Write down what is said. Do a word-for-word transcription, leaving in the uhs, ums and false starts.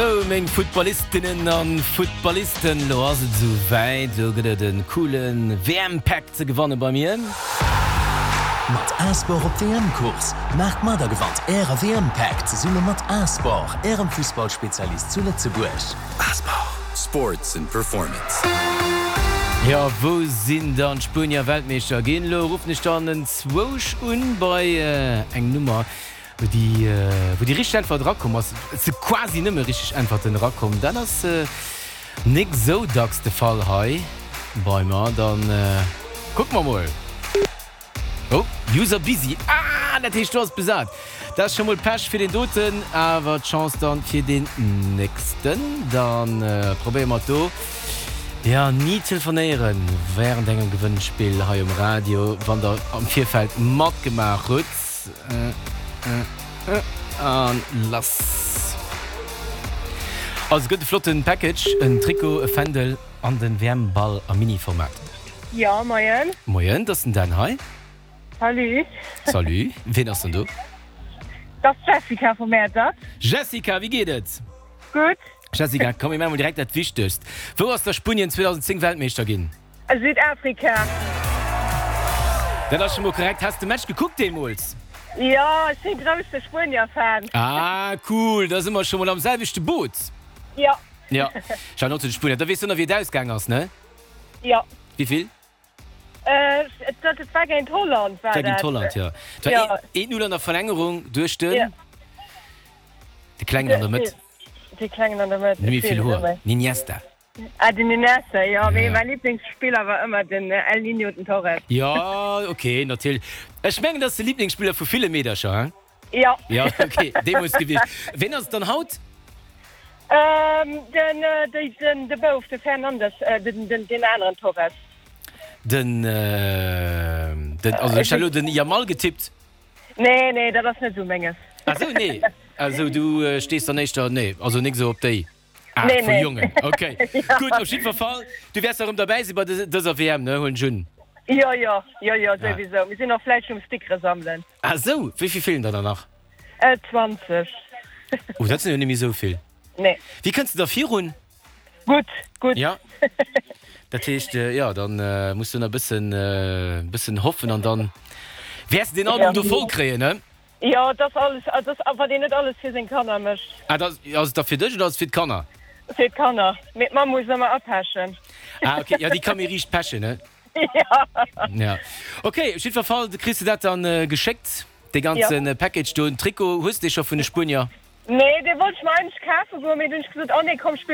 Sou meng Footballistinnen an Footballisten, lo ass et sou wäit, lo gëtt et en coolen W M Pack ze gewanne bei mir. Mat A-Sport op W M-Kurs! Maacht mat a gewannt Äre W M-Pack zesumme mat A-Sport, Ärem Fussballspezialist zu Lëtzebuerg. A-Sport. Sports and Performance. Jo, wou sinn dann d'Spuenier Weltmeeschter ginn? Lo ruffen ech dann enzwousch un bei eng Nummer. Wou déi, wou déi richteg Äntwert erakomm ass, et si quasi nëmme richteg Äntwerten erakomm, dat ass nik sou dacks de Fall hei bei mer. Dann kucke mer mol. Oh, User busy. Ah, dat heescht do ass besat. Dat ass scho mol Pech fir deen doten, awer d'Chance dann fir deen nächsten. Dann probéiere mer et do. Jo, ni telefonéieren während engem Gewënnspill hei um Radio, wann der am Virfeld matgemaach hutt. An lass! Also et gëtt e flotten Package, en Trikot, e Fändel an den W M-Ball am Mini-Format. Jo, moien. Moien, dat ass den Dan hei. Salut. Salut, ween ass denn do? Dat ass d'Jessica vu Mäertert. Jessica, wéi geet et? Gutt. Jessica, komm mir maache mol direkt dat Wichtegst. Wou ass da Spunien zweedausendzéng Weltmeeschter ginn? Südafrika. Dat ass scho mol korrekt. Has de Match gekuckt deemools? Jo, ech si grousse Spuenier-Fan. Ah, cool, da si mer scho mol am selwechte Boot. Jo. Jo, ech war och zu de Spuenier. Da weess du nach, wéi et ausgaang ass, ne? Jo. Wéi vill? Dat war géint Holland, war Dat war géint dat. Holland, jo. Et war eent Null an der Verlängerung duerch den, de Klengen an der Mëtt. De Klengen an der Mëtt. Net méi vill Hoer, den Iniesta. Ah, den Iniesta, jo. Mee mäi Liblingsspiller war ëmmer den El Niño, den Torres. Jo, ok, natierlech. Ech mengen, dat ass de Liblingsspiller vu ville Meedercher, hein? Jo. Jo, ok, deemools gewiescht. Ween ass et dann haut? Den, den, de Bouf, de Fernandes, den, den, deen aneren Torres. Den, den, also ech hat elo den Yamal getippt. Nee, nee, dat ass net esou menges. Ah sou, nee. Also du stees dann éischter, nee, also nik esou op déi Aart Nee, vu nee. Jongen. Ok, gutt, op jiddwer Fall, du wäers erëm derbäi si bei dëser W M, ne, huelen ech un? Jo, jo, jo, jo, souwisou. Mir sinn och fläisseg um Stickere sammelen. Ah sou, wéi vill feelen der dann nach? Zwanzeg. Oh, dat sinn jo net méi esou vill. Nee. Wéi kënns de da virun? Gutt, gutt. Ja. Dat heescht, jo, dann muss du nach e bëssen, bëssen hoffen an dann wäers de deen Album do voll kréien, ne? Jo, et ass alles, et ass, wat een net alles fir seng Kanner mécht. Ah, dat ass et da fir dech oder ass et fir d'Kanner? Fir d'Kanner, mee d'Mamm muss ëmmer apechen. Ah, ok, jo, déi ka méi riicht pechen, ne? Jo. Ja. Ok, op jiddwer Fall kriss de dat dann geschéckt, dee ganze Package do. Den Trikot hues de scho vun de Spuenier? Nee, dee wollt ech mer eigentlech kafe goen, mee dunn hunn ech gesot, oh nee, komm, spill